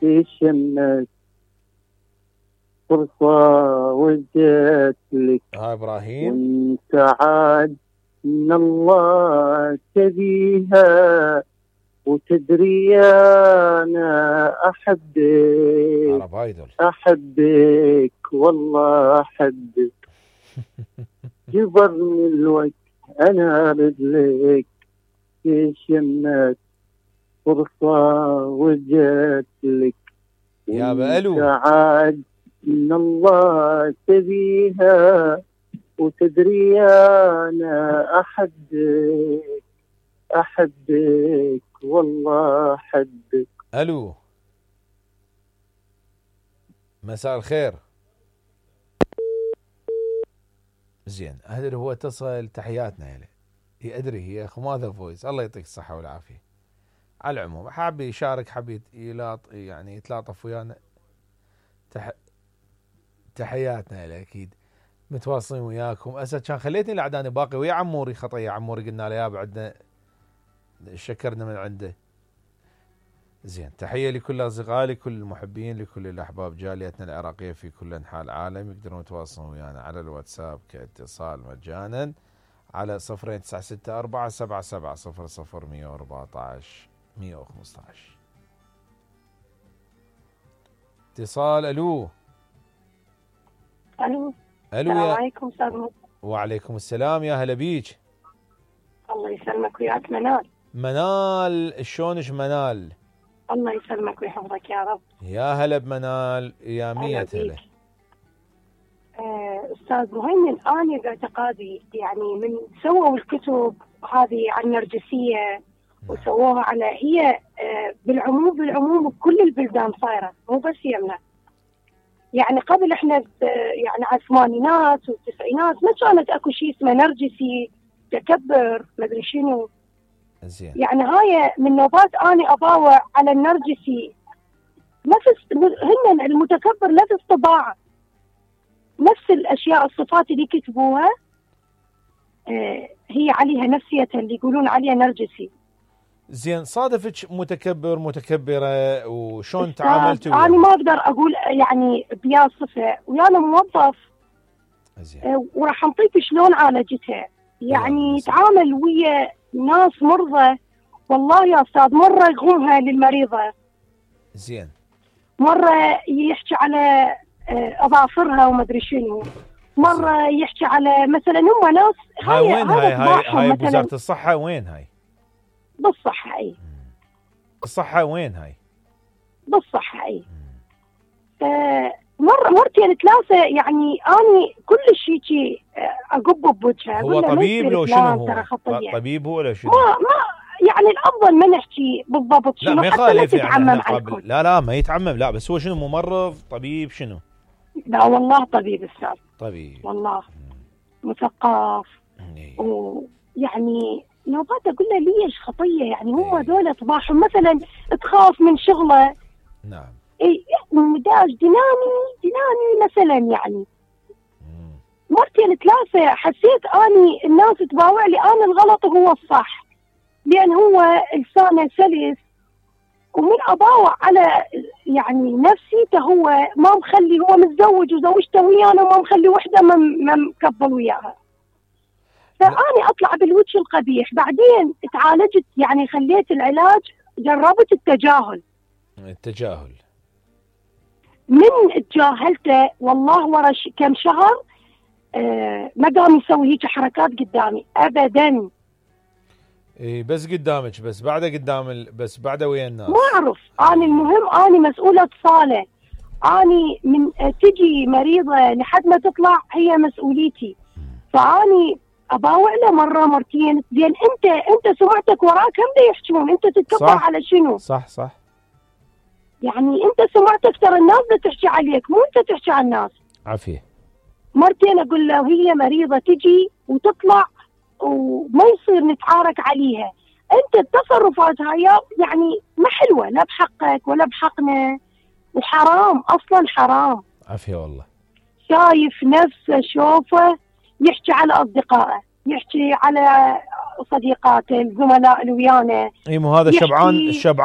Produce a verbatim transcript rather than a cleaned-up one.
يشمك فرصة وجهت لك. ها ابراهيم وانت عاد من الله تبيها، وتدري انا احبك عرب ايدول احبك والله احبك. جبرني الوقت انا رجلك يشمك فرصة وجهت لك. يا بألو عاد من الله تبيها، وتدري انا احبك احبك والله احبك. الو مساء الخير. زين هذا اللي هو اتصل، تحياتنا له. هي ادري هي خماذة فويس، الله يعطيك الصحة والعافية. على العموم حاب يشارك، حاب يلاط يعني يتلاطف ويانا، تح... تحياتنا له اكيد. متواصلين وياكم. اسد كان خليتني العداني باقي ويا عموري خطيه. عموري قلنا له يا بعدنا شكرنا من عنده. زين تحيه لكل اصدقائي، لكل المحبين، لكل الاحباب جاليتنا العراقيه في كل انحاء العالم. يقدرون يتواصلون ويانا على الواتساب كاتصال مجانا على صفرين تسعة ستة أربعة سبعة سبعة صفر صفر مية وأربعة عشر مية وخمسة عشر. اتصال. الو الو الو السلام يا عليكم استاذ. وعليكم السلام، يا هلا بيج. الله يسلمك وياك منال. منال شلونش منال؟ الله يسلمك ويحفظك يا رب. يا هلا بمنال، يا مية هلا. آه استاذ مهند، انا باعتقادي يعني من سووا الكتب هذه عن النرجسيه وسووها على هي آه بالعموم بالعموم بكل البلدان صايره، مو بس يمنا. يعني قبل احنا يعني على الثمانينات والتسعينات ما كانت اكو شيء اسمه نرجسي تكبر ما ادري شنو. زين يعني هاي من نوبات اني اباوع على النرجسي، نفس هن المتكبر نفس طباعه، نفس الاشياء الصفات اللي كتبوها آه هي عليها نفسيه اللي يقولون عليها نرجسي. زين صادفتك متكبر متكبره وشون تعاملتوا وياه؟ انا ما اقدر اقول يعني بيا صفه، ويانا موظف زين آه وراح نعطيك شلون عالجتها. يعني تعامل ويا ناس مرضى، والله يا استاذ مره يغومها للمريضه، زين مره يحكي على اظافرها وما ادري شنو، مره يحكي على مثلا هم ناس هاي وين هاي هاي هاي بوزاره الصحه وين هاي؟ بالصحه اي الصحه وين هاي؟ بالصحه اي. مره مرتين ثلاثه يعني اني كل شيء شي اقب بوجهها. هو طبيب لو شنو هو؟ طبيب هو ولا شنو؟ ما ما يعني الافضل ما نحكي بالضبط شنو، لا ما حتى لا تتعمم يعني قبل. لا لا ما يتعمم، لا بس هو شنو ممرض طبيب شنو؟ لا والله طبيب استاذ، طبيب والله مثقف. ويعني نوبات اقول له ليش خطيه، يعني هم دول طباعهم مثلا تخاف من شغله. نعم اي مداج دينامي دينامي مثلا يعني. مرتين ثلاثه حسيت اني الناس تباوع لي انا الغلط وهو الصح، لان هو لسانه سلس ومن اباوع على يعني نفسيته. هو ما مخلي، هو متزوج وزوجته ويانا وما مخلي وحده ما مكبل وياها. فاني اطلع بالوجه القبيح. بعدين تعالجت يعني خليت العلاج، جربت التجاهل. التجاهل من تجاهلته والله ورا كم شهر آه ما قام يسوي هيك حركات قدامي ابدا. اي بس قدامك، بس بعده قدام ال... بس بعده ويا الناس ما اعرف. انا المهم اني مسؤوله صاله، اني من تجي مريضه لحد ما تطلع هي مسؤوليتي. فاني اباوع له مره مرتين. زين انت انت سمعتك وراك هم دا يحكون، انت تتكبر على شنو؟ صح صح يعني انت سمعتك ترى الناس دا تحكي عليك، مو انت تحكي على الناس. عافيه. مرتين اقول له وهي مريضه تجي وتطلع وما يصير نتعارك عليها. انت التصرفات هاي يعني ما حلوه لا بحقك ولا بحقنا، وحرام اصلا حرام. عافيه والله. شايف نفسه شوفه يحكي على اصدقائه، يحكي على صديقاته الزملاء اللي ويانا. اي مو هذا شبعان الشبعان